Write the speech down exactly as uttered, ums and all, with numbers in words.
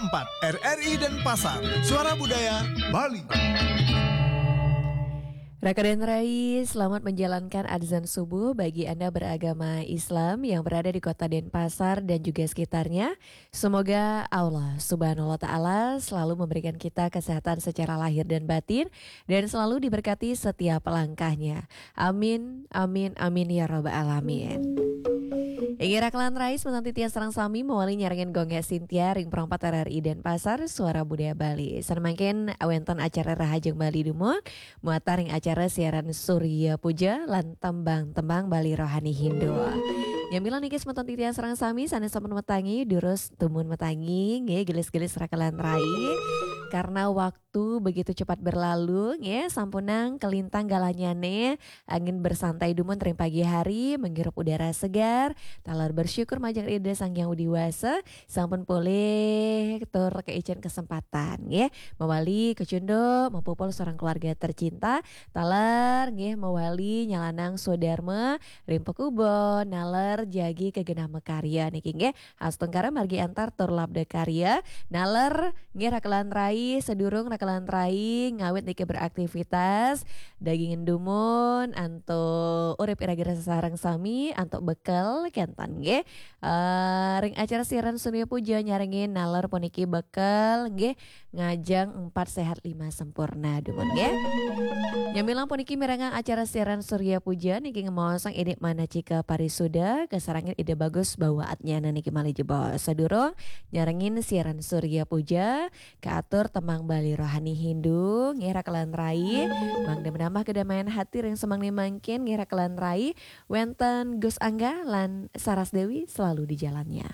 empat R R I Denpasar, Suara Budaya Bali. Raka dan Rai, selamat menjalankan azan subuh bagi Anda beragama Islam yang berada di kota Denpasar dan juga sekitarnya. Semoga Allah Subhanahu wa Ta'ala selalu memberikan kita kesehatan secara lahir dan batin dan selalu diberkati setiap langkahnya. Amin, amin, amin ya rabbal alamin. Inggih rakelan rai, semeton titiang sareng sami mawali nyarengin Gung Gé Sintia ring perempat R R I Denpasar, Suara Budaya Bali. Sané mangkin wénten acara Rahajeng Bali dumun, muatan ring acara siaran Surya Puja lan tembang-tembang Bali Rohani Hindu. Nyambilang niki semeton titiang sareng sami sané sampun matangi, durus dumun matangi, nggih gelis-gelis rakelan rai. Karena waktu begitu cepat berlalu, nggih, sampunang kalintang galahnyane, angin bersantai dumun ring pagi hari, menghirup udara segar, taler bersyukur majeng Ida Sang Hyang Widi Wasa, sampun polih tur kaicen kesempatan, nggih, mawali kacunduk, mapupul sareng keluarga tercinta, taler, nggih, mawali nyalanang swadarma ring pakubon, naler jagi ka genah makarya niki, nggih. Astungkara margi antar tur labda karya. Naler nggih rakelan rai, sedurung rakelan rai ngawit niki beraktivitas, dagingin dumun antuk urip iraga sareng sami antuk bekel kenten nggih. Eh, ring acara siaran Surya Puja nyarengin naler puniki bekel nggih, ngajeng empat sehat lima sempurna dumun nggih. Nyamilang puniki mirengang acara siaran Surya Puja niki ngemaosang indik manacika parisuda kasarengin Ida Bagus Bawa Atnyana niki malih jebos. Sadurung nyarengin siaran Surya Puja, kaatur tembang Bali Rohani Hindu nggih rakelan rai, mangda menambah kedamaian hati ring sumangdaning mangkin nggih rakelan rai, wénten Gus Angga lan Saras Dewi selalu di jalannya.